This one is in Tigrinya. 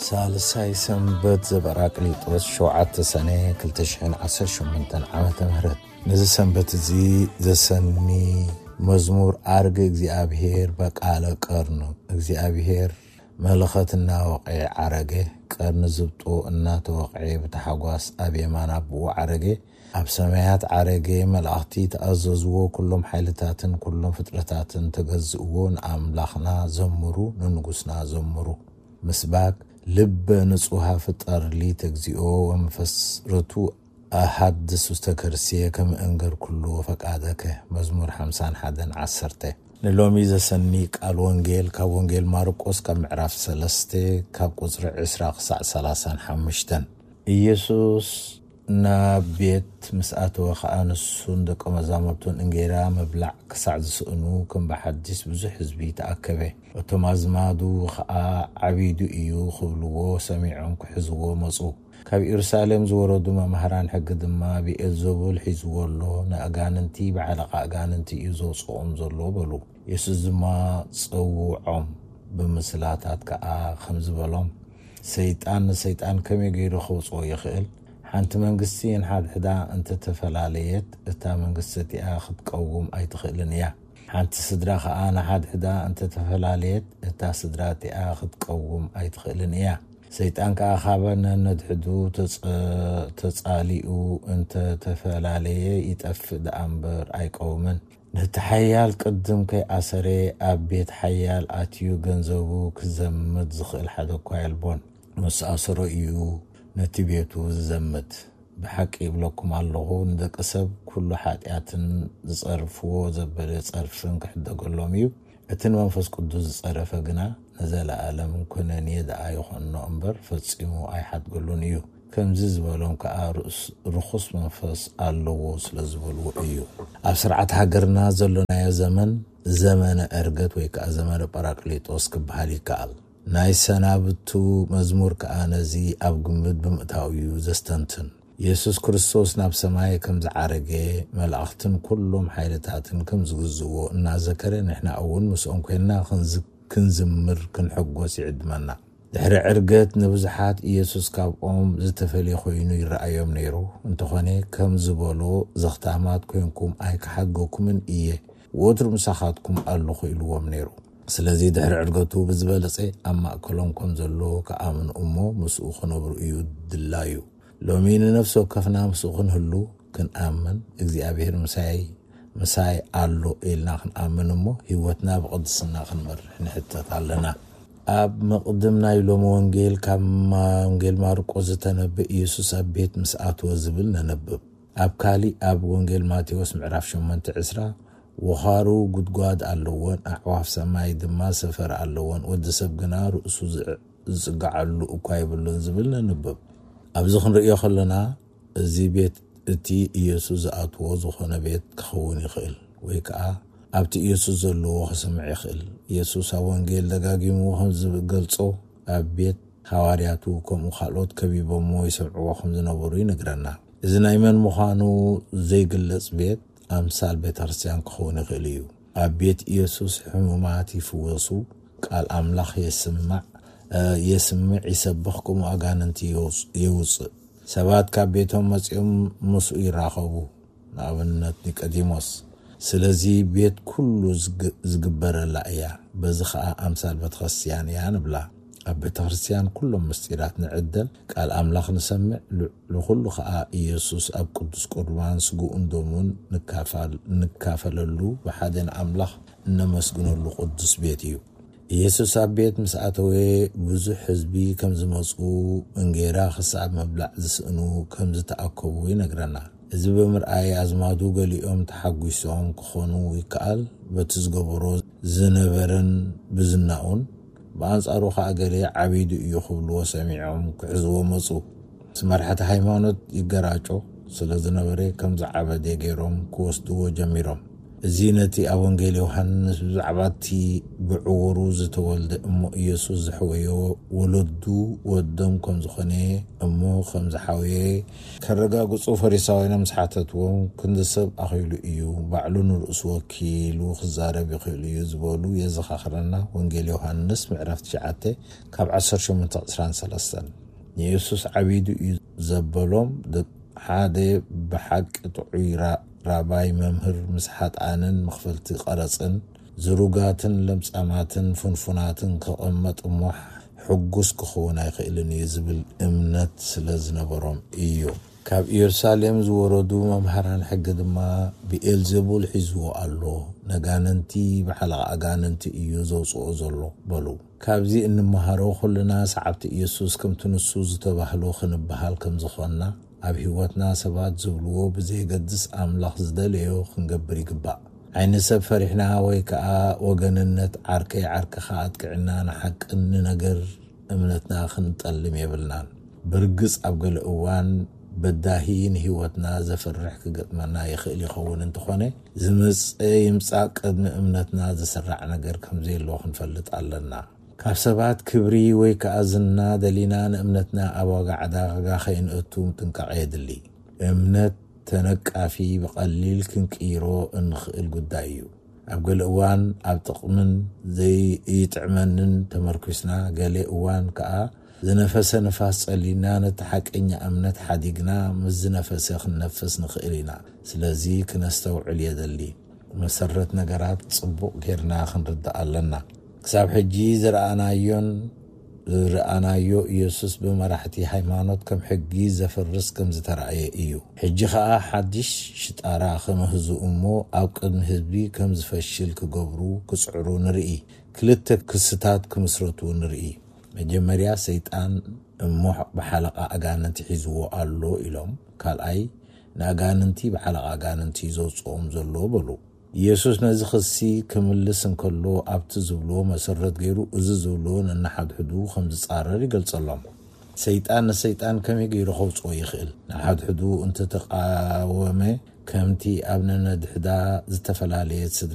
ሳልሳይ ሰንበት ዘበራቅሊጦስ ሸውዓተ ሰነ ክልተ ሽሕን ዓሰርተ ሸሞንተን ዓመተ ምህረት። ነዚ ሰንበት እዚ ዘሰኒ መዝሙር ኣርግ እግዚኣብሔር በቃለ ቀርኑ። እግዚኣብሔር መለኸት እናወቕዐ ዓረገ፣ ቀርኒ ዝብጦ እናተወቕዐ ብታሕጓስ ኣብ የማን ኣቦኡ ዓረገ። ኣብ ሰማያት ዓረገ፣ መላእኽቲ ተኣዘዝዎ፣ ኩሎም ሓይልታትን ኩሎም ፍጥረታትን ተገዝእዎ። ንኣምላኽና ዘምሩ፣ ንንጉስና ዘምሩ። ምስባክ። ልበ ንጹሃ ፍጠር ሊ ተግዚኦ ወመንፈስ ርቱ ኣሃድስ ውስተ ከርስየ ከመ እንገር ኩሉ ፈቃደከ። መዝሙር ሓምሳን ሓደን ዓሰርተ። ንሎሚ ዘሰኒ ቃል ወንጌል ካብ ወንጌል ማርቆስ ካብ ምዕራፍ ሰለስተ ካብ ቁጽሪ ዕስራ ክሳዕ ሰላሳን ሓሙሽተን። ኢየሱስ ናብ ቤት ምስ ኣተወ ኸኣ ንሱን ደቀ መዛሙርቱን እንጌራ ምብላዕ ክሳዕ ዝስእኑ ከም ብሓዲስ ብዙሕ ህዝቢ ተኣከበ። እቶም ኣዝማዱ ኸኣ ዓቢዱ እዩ ክብልዎ ሰሚዖም ክሕዝዎ መጹ። ካብ ኢየሩሳሌም ዝወረዱ መማህራን ሕጊ ድማ ብኤልዘቡል ሒዝዎ ኣሎ፣ ንኣጋንንቲ ብሓለቓ ኣጋንንቲ እዩ ዘውጽኦም ዘሎ በሉ። የሱስ ድማ ጸውዖም ብምስላታት ከኣ ከምዚ በሎም፣ ሰይጣን ንሰይጣን ከመይ ገይሩ ከውጽኦ ይኽእል? ሓንቲ መንግስቲ ንሓድሕዳ እንተተፈላለየት እታ መንግስቲ እቲኣ ክትቀውም ኣይትኽእልን እያ። ሓንቲ ስድራ ኸኣ ንሓድሕዳ እንተተፈላለየት እታ ስድራ እቲኣ ክትቀውም ኣይትኽእልን እያ። ሰይጣን ከኣ ካበ ነነድሕዱ ተጸ-፣ ተጻሊኡ እንተተፈላለየ ይጠፍእ ደኣ እምበር ኣይቀውምን። ነቲ ሓያል ቅድም ከይኣሰረ ኣብ ቤት ሓያል ኣትዩ ገንዘቡ ክዘምት ዝኽእል ሓደ እኳ የልቦን። ምስ ኣሰሮ እዩ ነቲ ቤቱ ዝዘምት። ብሓቂ ይብለኩም ኣለኹ፣ ንደቂ ሰብ ኩሉ ሓጢኣትን ዝጸርፍዎ ዘበለ ጸርፍን ክሕደገሎም እዩ። እቲ ንመንፈስ ቅዱስ ዝጸረፈ ግና ንዘለኣለም ኩነኔ ደኣ ይኾንኖ እምበር ፈጺሙ ኣይሓድገሉን እዩ። ከምዚ ዝበሎም ከኣ ርኡስ-፣ ርኹስ መንፈስ ኣለዎ ስለ ዝበልዎ እዩ። ኣብ ስርዓት ሃገርና ዘሎናዮ ዘመን ዘመነ ዕርገት ወይ ከኣ ዘመነ ጳራቅሊጦስ ክበሃል ይከኣል። ናይ ሰናብቱ መዝሙር ከኣ ነዚ ኣብ ግምት ብምእታው እዩ ዘስተንትን። የሱስ ክርስቶስ ናብ ሰማይ ከም ዝዓረገ፣ መላእኽትን ኩሎም ሓይልታትን ከም ዝግዝእዎ እናዘከረ፣ ንሕና እውን ምስኦም ኮይንና ክንዝ-፣ ክንዝምር፣ ክንሕጎስ ይዕድመና። ድሕሪ ዕርገት ንብዙሓት ኢየሱስ ካብኦም ዝተፈልየ ኮይኑ ይረኣዮም ነይሩ። እንተኾነ፣ ከም ዝበሎ፣ ዘኽታማት ኮይንኩም ኣይክሓድገኩምን እየ፣ ወትሩ ምሳኻትኩም ኣለኹ ኢልዎም ነይሩ። ስለዚ ድሕሪ ዕርገቱ ብዝበለጸ ኣብ ማእከሎም ከም ዘሎ ክኣምኑ እሞ ምስኡ ክነብሩ እዩ ድላዩ። ሎሚ ንነፍሲ ወከፍና ምስኡ ክንህሉ፣ ክንኣምን፣ እግዚኣብሔር ምሳይ፣ ምሳይ ኣሎ ኢልና ክንኣምን እሞ ህይወትና ብቕድስና ክንመርሕ ንሕተት ኣለና። ኣብ መቕድም ናይ ሎሚ ወንጌል ካብ ማ-፣ ወንጌል ማርቆስ ዝተነብእ ኢየሱስ ኣብ ቤት ምስ ኣትወ ዝብል ነነብብ። ኣብ ካሊእ ኣብ ወንጌል ማቴዎስ ምዕራፍ ሸሞንተ ዕስራ፣ ወኻሩ ጉድጓድ ኣለወን፣ ኣዕዋፍ ሰማይ ድማ ሰፈር ኣለወን፣ ወዲ ሰብ ግና ርእሱ ዝዕ-፣ ዝጽግዓሉ እኳ የብሉን ዝብል ነንብብ። ኣብዚ ክንርእዮ ከለና፣ እዚ ቤት እቲ ኢየሱስ ዝኣትዎ ዝኾነ ቤት ክኸውን ይኽእል፣ ወይ ከኣ ኣብቲ ኢየሱስ ዘለዎ ክስምዕ ይኽእል። ኢየሱስ ኣብ ወንጌል ደጋጊሙ ከም ዝገልጾ፣ ኣብ ቤት ሃዋርያቱ ከምኡ ካልኦት ከቢቦምዎ ይሰምዕዎ ከም ዝነበሩ ይነግረና። እዚ ናይ መን ምዃኑ ዘይግለጽ ቤት ኣምሳል ቤተ ክርስቲያን ክኸውን ይኽእል እዩ። ኣብ ቤት ኢየሱስ ሕሙማት ይፍወሱ፣ ቃል ኣምላኽ የስማዕ፣ እ፣ የስምዕ፣ ይሰብኽ፣ ከምኡ ኣጋንንቲ የውጽ-፣ የውጽእ። ሰባት ካብ ቤቶም መጺኦም ምስኡ ይራኸቡ፣ ንኣብነት ኒቆዲሞስ። ስለዚ ቤት ኩሉ ዝግ-፣ ዝግበረላ እያ፣ በዚ ኸኣ ኣምሳል ቤተ ክርስቲያን እያ ንብላ። ኣብ ቤተ ክርስቲያን ኩሎም ምስጢራት ንዕደል፣ ቃል ኣምላኽ ንሰምዕ፣ ል-፣ ልኹሉ ኸኣ ኢየሱስ ኣብ ቅዱስ ቁርባን ስግኡን ደሙን ንካፋል-፣ ንካፈለሉ፣ ብሓደ ንኣምላኽ እነመስግነሉ ቅዱስ ቤት እዩ። ኢየሱስ ኣብ ቤት ምስ ኣተወ፣ ብዙሕ ህዝቢ ከም ዝመጹ፣ እንጌራ ክሳብ ምብላዕ ዝስእኑ ከም ዝተኣከቡ ይነግረና። እዚ ብምርኣይ ኣዝማዱ ገሊኦም ተሓጒሶም ክኾኑ ይከኣል፣ በቲ ዝገበሮ ዝነበረን ብዝናኡን። ብኣንጻሩ ኸኣ ገለ ዓቢዱ እዩ ክብልዎ ሰሚዖም ክሕዝዎ መጹ። ምስ መራሕቲ ሃይማኖት ይገራጮ ስለ ዝነበረ ከም ዝዓበደ ገይሮም ክወስድዎ ጀሚሮም። እዚ ነቲ ኣብ ወንጌል ዮሃንስ ብዛዕባ እቲ ብዕውሩ ዝተወልደ እሞ ኢየሱስ ዝሕወዮ ወለዱ ወዶም ከም ዝኾነ እሞ ከም ዝሓወየ ከረጋግጹ ፈሪሳውያን ምስ ሓተትዎም፣ ክንዲ ሰብ ኣኺሉ እዩ፣ ባዕሉ ንርእሱ ወኪሉ ክዛረብ ይኽእል እዩ ዝበሉ የዘኻኽረና። ወንጌል ዮሃንስ ምዕራፍ ትሽዓተ ካብ ዓሰርተ ሸሞንተ ዕስራን ሰለስተን። ንኢየሱስ ዓቢዱ እዩ ዘበሎም ሓደ ብሓቂ ጥዑይ ራባይ መምህር፣ ምስ ሓጥኣንን መኽፈልቲ ቀረጽን ዝሩጋትን ለምጻማትን ፍንፉናትን ክቕመጥ እሞ ሕጉስ ክኸውን ኣይኽእልን እዩ ዝብል እምነት ስለ ዝነበሮም እዩ። ካብ ኢየሩሳሌም ዝወረዱ መምሃራን ሕጊ ድማ፣ ብኤልዜቡል ሒዝዎ ኣሎ፣ ነጋንንቲ ብሓለቓ ኣጋንንቲ እዩ ዘውፅኦ ዘሎ በሉ። ካብዚ እንመሃሮ ኩልና ሰዓብቲ ኢየሱስ ከምቲ ንሱ ዝተባህሎ ክንበሃል ከም ዝኾንና፣ ኣብ ህይወትና ሰባት ዝብልዎ ብዘየገድስ ኣምላኽ ዝደለዮ ክንገብር ይግባእ። ዓይኒ ሰብ ፈሪሕና ወይ ከዓ ወገንነት ዓርከይ ዓርክኻ ኣጥቅዕና ንሓቅን ንነገር እምነትና ክንጠልም የብልናን። ብርግጽ ኣብ ገለ እዋን በዳሂ ንህይወትና ዘፍርሕ ክገጥመና ይኽእል ይኸውን እንተኾነ፣ ዝመጸ ይምጻእ ቅድሚ እምነትና ዝስራዕ ነገር ከም ዘየሎ ክንፈልጥ ኣለና። ካብ ሰባት ክብሪ ወይ ከኣ ዝና ደሊና ንእምነትና ኣብ ዋጋ ዕዳጋ ከይንእቱ ጥንቃቐ የድሊ። እምነት ተነቃፊ ብቐሊል ክንቅይሮ እንኽእል ጉዳይ እዩ። ኣብ ገለ እዋን ኣብ ጥቕምን ዘይጥዕመንን ተመርኩስና፣ ገለ እዋን ከኣ ዝነፈሰ ንፋስ ጸሊና ነቲ ሓቀኛ እምነት ሓዲግና ምስ ዝነፈሰ ክንነፍስ ንኽእል ኢና። ስለዚ ክነስተውዕል የደሊ። መሰረት ነገራት ጽቡቕ ጌርና ክንርዳእ ኣለና። ክሳብ ሕጂ ዝረኣናዮን ዝረኣናዮ ኢየሱስ ብመራሕቲ ሃይማኖት ከም ሕጊ ዘፍርስ ከም ዝተራእየ እዩ። ሕጂ ኸኣ ሓድሽ ሽጣራ ክምህዙ እሞ ኣብ ቅድሚ ህዝቢ ከም ዝፈሽል ክገብሩ ክጽዕሩ ንርኢ። ክልተ ክስታት ክምስረቱ ንርኢ። መጀመርያ ሰይጣን እሞ ብሓለቓ ኣጋንንቲ ሒዝዎ ኣሎ ኢሎም። ካልኣይ ንኣጋንንቲ ብሓለቓ ኣጋንንቲ ዘውፅኦም ዘሎ በሉ። ኢየሱስ ነዚ ክሲ ክምልስ እንከሎ ኣብቲ ዝብልዎ መሰረት ገይሩ እዚ ዝብልዎ ነናሓድሕዱ ከም ዝጻረር ይገልጸሎም። ሰይጣን ንሰይጣን ከመይ ገይሩ ከውፅኦ ይኽእል? ንሓድሕዱ እንተተቃወመ ከምቲ ኣብ ነነድሕዳ ዝተፈላለየት ስድራ